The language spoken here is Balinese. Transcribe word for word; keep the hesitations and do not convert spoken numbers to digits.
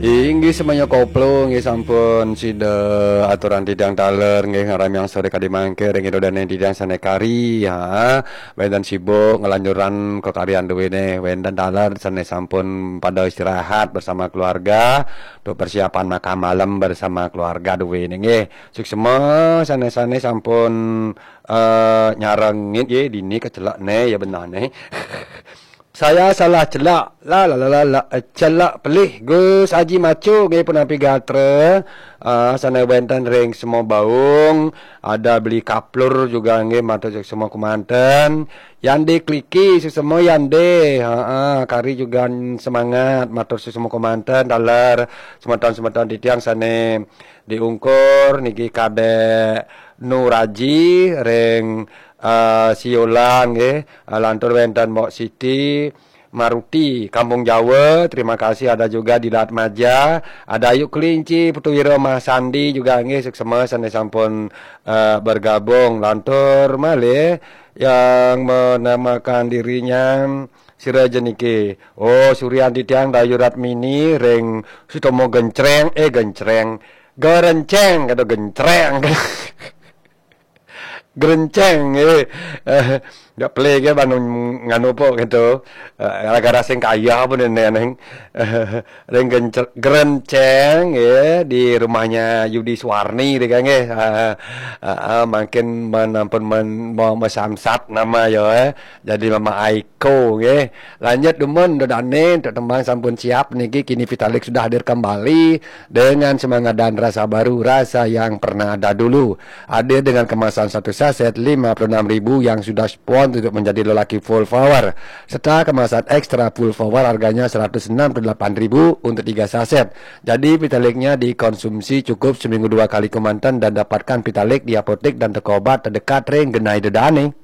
Inggih semuanya koplo, inggih sampun sida aturan titiang taler, inggih ngramiang sore kadi mangke ring ida dane titiang sane kari, ha. Wenten sibuk ngelanjuran kekaryan duwene, wenten taler sane sampun pada istirahat bersama keluarga, untuk persiapan makan malam bersama keluarga duwene, nggih. Suksema sane-sane sampun, eh, nyarengin, nggih, dini kecelak ne, ya benah ne. Saya salah celak. La la la la la, eh, celak pelih Gus Haji Macu nggih punapi gatra. Ah, sane wenten ring semua baung, ada beli kaplur juga nggih matur semua kemanten. Yande kliki semua yande. Ha, kari juga semangat matur semua kemanten taler semeton-semeton titiang sane diungkur niki Kadek Nuraji ring, eh, Siolan nggih. Eh, lantur wenten Mbok Siti Maruti, Kampung Jawa, terima kasih. Ada juga di Latmaja, ada Ayu Kelinci, Putu Wiro Mas Sandi juga nggih, suksema sane sampun, eh, bergabung. Lantur malih yang menamakan dirinya sira jeniki. Oh, Suryan Titiang Dayu Ratmini ring Sutomo Gencreng, eh, Gencreng. Gerenceng kata Gencreng. Gerenceng, eh. Eh, dak play ke banu nganu po gitu. Eh, gara-gara sing kaya pun neng. Eh, ring Gencer-, Gerenceng, ya, di rumahnya Yudi Suwarni deh kan, ya. Eh, eh, eh, makin menampun men, mau mesamsat nama ya, eh. Jadi Mama Aiko, nggih. Lanjut dumun, dodane untuk tembang sampun siap niki, kini Vitalik sudah hadir kembali dengan semangat dan rasa baru, rasa yang pernah ada dulu. Hadir dengan kemasan satu saset lima puluh enam ribu yang sudah spon untuk menjadi lelaki full power, serta kemasan ekstra full power harganya seratus enam puluh delapan ribu untuk tiga saset. Jadi Vitaliknya dikonsumsi cukup seminggu dua kali kemanten dan dapatkan Vitalik di apotek dan toko obat terdekat ring genah ida dane.